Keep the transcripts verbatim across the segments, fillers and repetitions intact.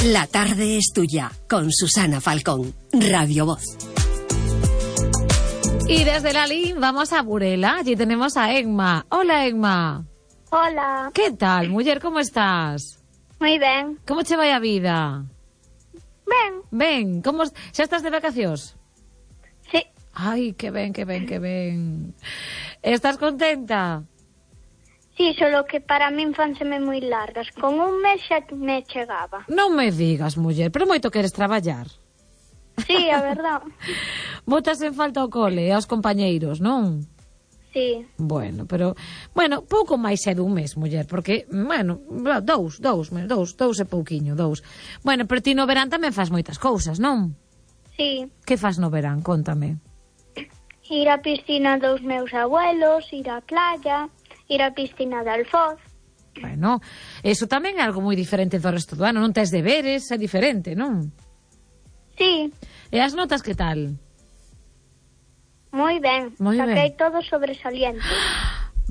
La tarde es tuya, con Susana Falcón, Radio Voz. Y desde Lalín vamos a Burela. Allí tenemos a Emma. Hola, Emma. Hola. Que tal, muller, como estás? Moi ben. Como che vai a vida? Ben. Ben, como xa estás de vacacións? Sí. Ai, que ben, que ben, que ben. Estás contenta? Sí, solo que para min fanseme moi largas. Con un mes xa me chegaba. Non me digas, muller, pero moito queres traballar. Sí, a verdad. Botas en falta ao cole e aos compañeiros, non? Sí. Bueno, pero, bueno, pouco máis é dun mes, muller, porque, bueno, dous, dous, dous, dous e pouquiño, dous. Bueno, pero ti no verán tamén faz moitas cousas, non? Sí. Que faz no verán? Cóntame. Ir á piscina dos meus abuelos, ir á playa, ir á piscina de Alfoz. Bueno, eso tamén é algo moi diferente do resto do ano, non tes deberes, é diferente, non? Sí. E as notas que tal? Moi ben. Moi ben. Saquei todo sobresaliente.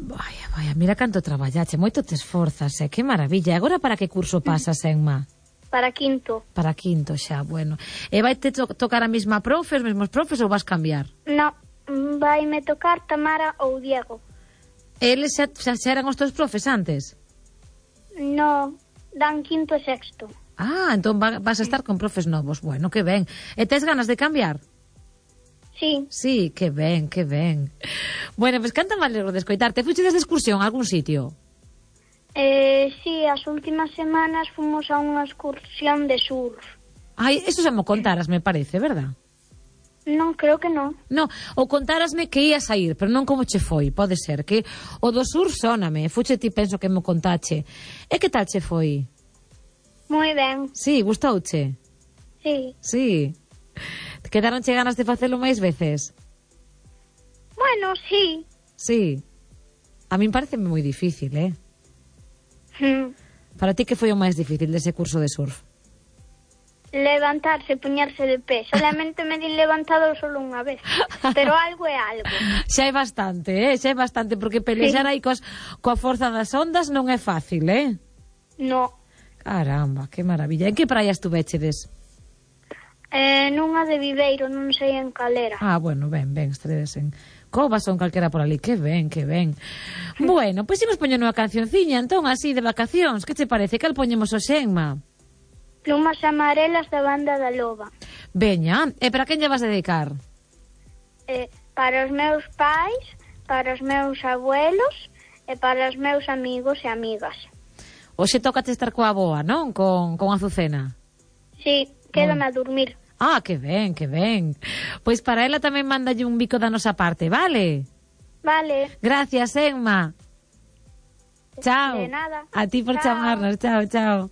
Vaya, vaya, mira canto traballache, moito te esforzas, eh? Que maravilla. E agora para que curso pasas, Emma? Para quinto. Para quinto xa, bueno. E vai te to tocar a mesma profe, os mesmos profes ou vas cambiar? No, vai me tocar Tamara ou Diego. Eles xa, xa, xa eran os teus profes antes? No, dan quinto e sexto. Ah, entón va, vas a estar con profes novos. Bueno, que ben. E tes ganas de cambiar? Sí. Sí, que ben, que ben. Bueno, pois pues, canta me alegro de escoitarte. Fuches de excursión a algún sitio? Eh, sí, as últimas semanas fomos a unha excursión de surf. Ai, eso xa mo contaras, me parece, verdad? Non, creo que non. No, ou contarasme que ías a ir, pero non como che foi, pode ser, que o do sur sóname, fuche ti penso que mo contache. E que tal che foi? Moi ben. Sí, gustouche? Sí. Sí. Quedaronche ganas de facelo máis veces? Bueno, sí. Sí. A min parece moi difícil, eh? Hmm. Para ti que foi o máis difícil dese curso de surf? Levantarse, poñerse de pé. Solamente me din levantado solo unha vez. Pero algo é algo. Xa é bastante, eh? Xa é bastante, porque pelexar aí cos, coa forza das ondas non é fácil, eh? No. Caramba, que maravilla. En que praia estuvechedes? Eh, nunha de Viveiro, non sei en calera. Ah, bueno, ben, ben, estedes en Covas ou en calquera por ali. Que ben, que ben. Bueno, pois imos poñendo unha cancionciña, entón, así, de vacacións. Que che parece? Cal poñemos o Xenma? Plumas amarelas da banda da Loba. Veña, e para quen lle vas dedicar? Eh, para os meus pais, para os meus abuelos e para os meus amigos e amigas. Hoxe tócate estar coa boa, non? Con, con Azucena. Sí, quédame a dormir. Ah, que ben, que ben. Pois para ela tamén mandalle un bico da nosa parte, vale? Vale. Gracias, Emma. Chao. De nada. A ti por Chao. chamarnos. Chao, chao.